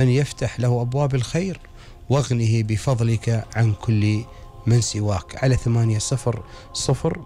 أن يفتح له أبواب الخير واغنه بفضلك عن كل من سواك. على 800016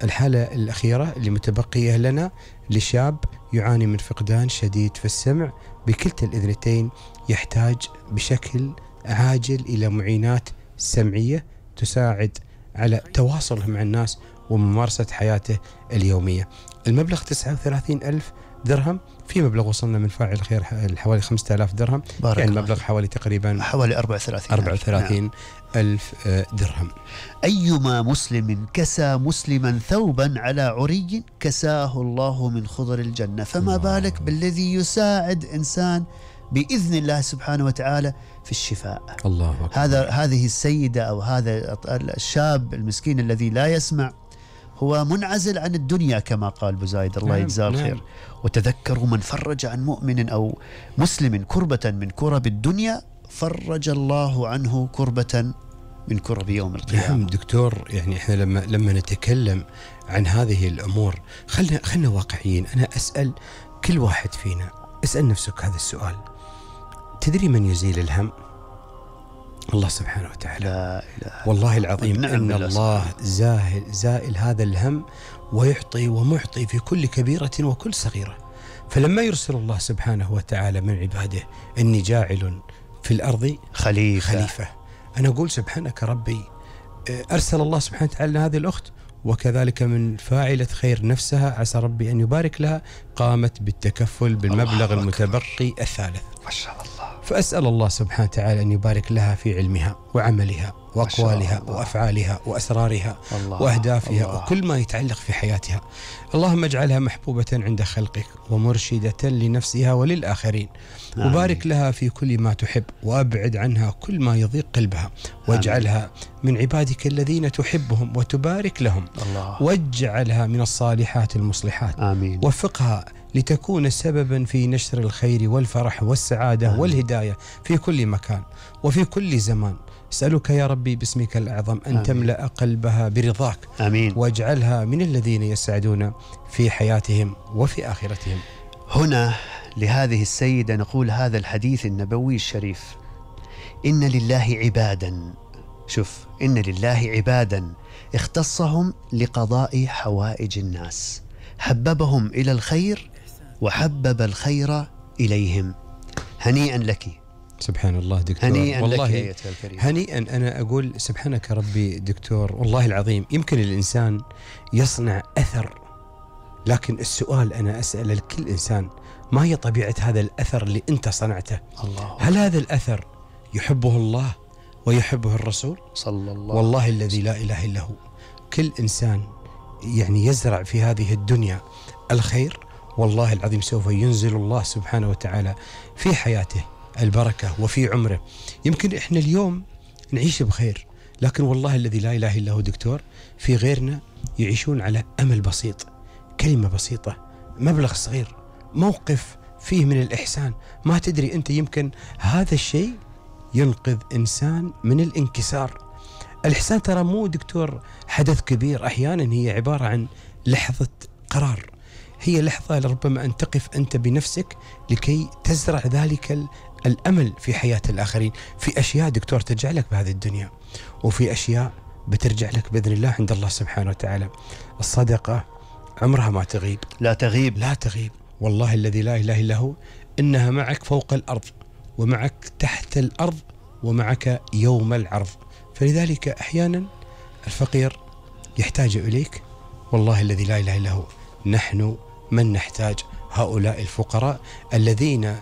الحالة الأخيرة اللي متبقية لنا لشاب يعاني من فقدان شديد في السمع بكلتا الإذنتين، يحتاج بشكل عاجل إلى معينات سمعية تساعد على تواصله مع الناس وممارسة حياته اليومية. المبلغ 39,000 درهم، في مبلغ وصلنا من فاعل الخير حوالي 5000 درهم، يعني المبلغ حوالي تقريبا حوالي 34,000 درهم. أيما مسلم كسى مسلما ثوبا على عري كساه الله من خضر الجنة، فما بالك بالذي يساعد إنسان بإذن الله سبحانه وتعالى في الشفاء. الله أكبر. هذه السيدة أو هذا الشاب المسكين الذي لا يسمع هو منعزل عن الدنيا كما قال بزايد الله يجزاه الخير. وتذكروا من فرج عن مؤمن أو مسلم كربة من كرب الدنيا فرج الله عنه كربة من كرب يوم القيامة. نعم دكتور، يعني احنا لما نتكلم عن هذه الأمور خلنا واقعيين. أنا أسأل كل واحد فينا، اسأل نفسك هذا السؤال: تدري من يزيل الهم؟ الله سبحانه وتعالى. لا إله والله العظيم إن الله زائل هذا الهم ويعطي ومعطي في كل كبيرة وكل صغيرة. فلما يرسل الله سبحانه وتعالى من عباده إني جاعل في الأرض خليفة، أنا أقول سبحانك ربي، أرسل الله سبحانه وتعالى هذه الأخت وكذلك من فاعلة خير نفسها عسى ربي أن يبارك لها قامت بالتكفل بالمبلغ المتبقي الثالث ما شاء الله. فأسأل الله سبحانه وتعالى أن يبارك لها في علمها وعملها وأقوالها وأفعالها وأسرارها وأهدافها وكل ما يتعلق في حياتها. اللهم اجعلها محبوبة عند خلقك ومرشدة لنفسها وللآخرين، وبارك لها في كل ما تحب وأبعد عنها كل ما يضيق قلبها، واجعلها من عبادك الذين تحبهم وتبارك لهم، واجعلها من الصالحات المصلحات. آمين. وفقها لتكون سببا في نشر الخير والفرح والسعادة والهداية في كل مكان وفي كل زمان. أسألك يا ربي باسمك الأعظم أن تملأ قلبها برضاك. آمين. واجعلها من الذين يسعدون في حياتهم وفي آخرتهم. هنا لهذه السيدة نقول هذا الحديث النبوي الشريف: إن لله عبادا، شوف، إن لله عبادا اختصهم لقضاء حوائج الناس، حببهم إلى الخير وحبب الخير إليهم. هنيئا لك. سبحان الله دكتور، هنيئا والله لك أيتها الكريم. هنيئا. أنا أقول سبحانك ربي دكتور، والله العظيم يمكن الإنسان يصنع أثر، لكن السؤال أنا أسأل الكل إنسان: ما هي طبيعة هذا الأثر اللي أنت صنعته؟ هل هذا الأثر يحبه الله ويحبه الرسول صلى الله؟ والله الذي لا إله إلا هو. كل إنسان يعني يزرع في هذه الدنيا الخير، والله العظيم سوف ينزل الله سبحانه وتعالى في حياته البركة وفي عمره. يمكن إحنا اليوم نعيش بخير، لكن والله الذي لا إله إلا هو دكتور في غيرنا يعيشون على أمل بسيط، كلمة بسيطة، مبلغ صغير، موقف فيه من الإحسان. ما تدري أنت يمكن هذا الشيء ينقذ إنسان من الانكسار. الإحسان ترى مو دكتور حدث كبير، أحيانا هي عبارة عن لحظة قرار، هي لحظة ربما أن تقف أنت بنفسك لكي تزرع ذلك الأمل في حياة الآخرين. في أشياء دكتور ترجع لك بهذه الدنيا، وفي أشياء بترجع لك بإذن الله عند الله سبحانه وتعالى. الصدقة عمرها ما تغيب، لا تغيب، لا تغيب، والله الذي لا إله إلا هو إنها معك فوق الأرض ومعك تحت الأرض ومعك يوم العرض. فلذلك أحيانا الفقير يحتاج إليك، والله الذي لا إله إلا هو نحن من نحتاج هؤلاء الفقراء الذين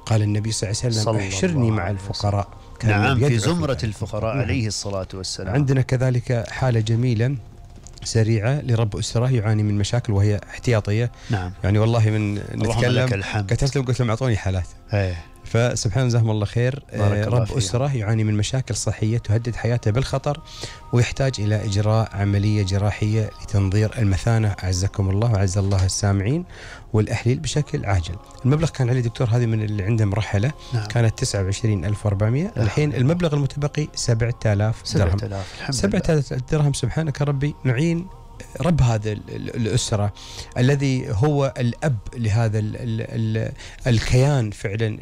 قال النبي صلى الله عليه وسلم: احشرني مع الفقراء. نعم، في زمرة الفقراء عليه الصلاة والسلام. عندنا كذلك حالة جميلة سريعة لرب أسرة يعاني من مشاكل وهي احتياطية. نعم. يعني والله من نتكلم كتبت لهم قلت لهم أعطوني حالات. فسبحان جزاهم الله خير. رب أسرة يعاني من مشاكل صحية تهدد حياته بالخطر ويحتاج إلى إجراء عملية جراحية لتنظير المثانة أعزكم الله وأعز الله السامعين والأحليل بشكل عاجل. المبلغ كان عليه دكتور هذه من اللي عنده مرحلة. نعم. كانت 29,400. الحين المبلغ المتبقي 7,000 درهم. 7,000 7,000 درهم. سبحانك ربي نعين رب هذا الأسرة، الذي هو الأب لهذا الكيان فعلا